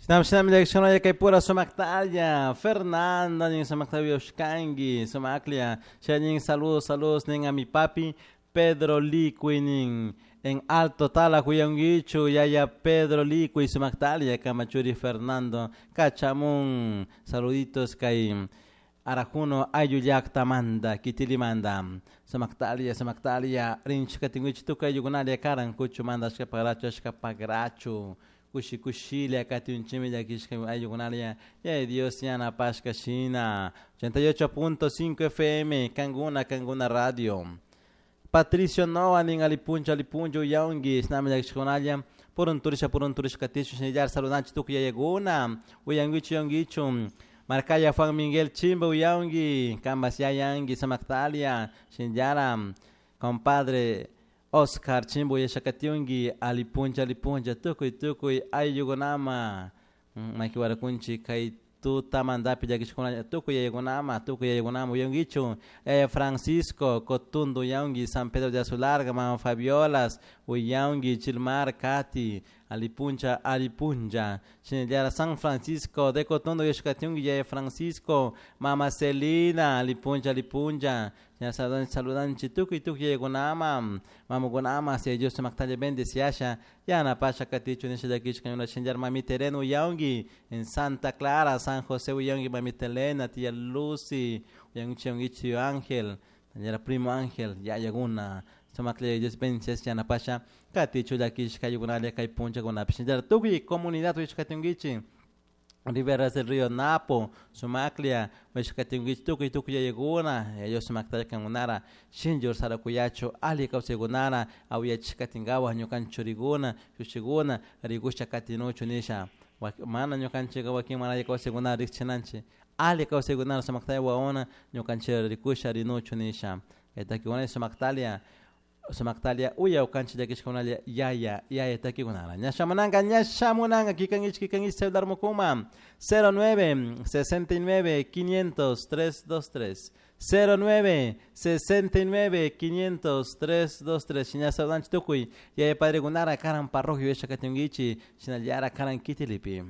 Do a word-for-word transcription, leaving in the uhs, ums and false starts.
Shinam shinam llakishkunalla kay pura sumaktalla Fernando nin sumakta uyashkanki sumaklla nin saludos saludos nin a mi papi Pedro Licuy nin en Alto Tala huyanguichu yaya Pedro Licuy sumaktalia kamachuri Fernando kachamun saluditos kay Arajuno ayllu llaktamanta kitilimanta sumaktalia sumaktalia rinchik katinguichi tukuy ayllukunalia karan kuchumanta ashka pagrachu ashka pagrachu kushi kushilla katinchimi llakishka ayllukunalia yaya Dios yanapashka shina ochenta y ocho punto cinco F M Kanguna Kanguna Radio Patricio Noa nin alipuncha alipuncha uyanki shinami llakishkunalla purunturisha purunturisha katishu shinallar saludanchik tukuy yayakuna uyankichu uyankichu Marcaya Juan Miguel Chimba uyanki Kambas yayanki samaktalia shinallara compadre Oscar Chimba uyashakatiunki alipuncha alipuncha tukuy tukuy ayllukunama makiwarakunchik kay tutamantapi llakishkunalla tukuy yayakunama tukuy yayakunama uyankichu yaya Francisco Cotundo uyanki San Pedro de Azularga mama Fabiolas uyanki Chilmar Kati alipuncha alipuncha shinallara San Francisco de Cotundo uyashkatiunki yaya Francisco mama Celina alipuncha alipuncha saludanchik tukuy tukuy yayakunama mamakunama si Dios sumaktalla bendeciasha yanapasha katichu nisha llakishka ñuna shinallara mamita Elena uyanki en Santa Clara San José uyanki mamita Elena tía Lucy uyankichi uyankichi tío Ángel shinallara primo Ángel yayakuna sumaklla Dios bendeciasha yanapasha katichu llakishka ayllukunalla kay punchakunapi shinallara tukuy comunidad uyashkatinkichik Riberas del Río Napo, Sumaklia, uyashkatinkichik tukuy tukuy yayakuna, Dios sumaktalla kankunara, shinlli sarakuyachu, alli kawsaykunara, awiyachishkatinkawa ñukanchik churikuna, shushikuna, rikusha katinuchu nisha. Mana ñukanchik wakin mana alli kawsaykunara rikchinanchik, alli kawsaykunara sumaktalla wawakuna ñukanchik rikusha rinuchu nisha. Kay takikunalla sumaktalia, sumaktalia uyawkanchik llakishkunalla yaya, yaya takikunara. Ña shamunanka, ña shamunanka, kikankichik, kikankichik celular mukuma, cero nueve, sesenta y nueve, quinientos, tres, dos, tres. cero nueve, sesenta y nueve, quinientos, tres, dos, tres. Shina saludanchik tukuy, yaya padre kunara, karan parroquia uyashakatinkichik, shinallara karan kitilipi.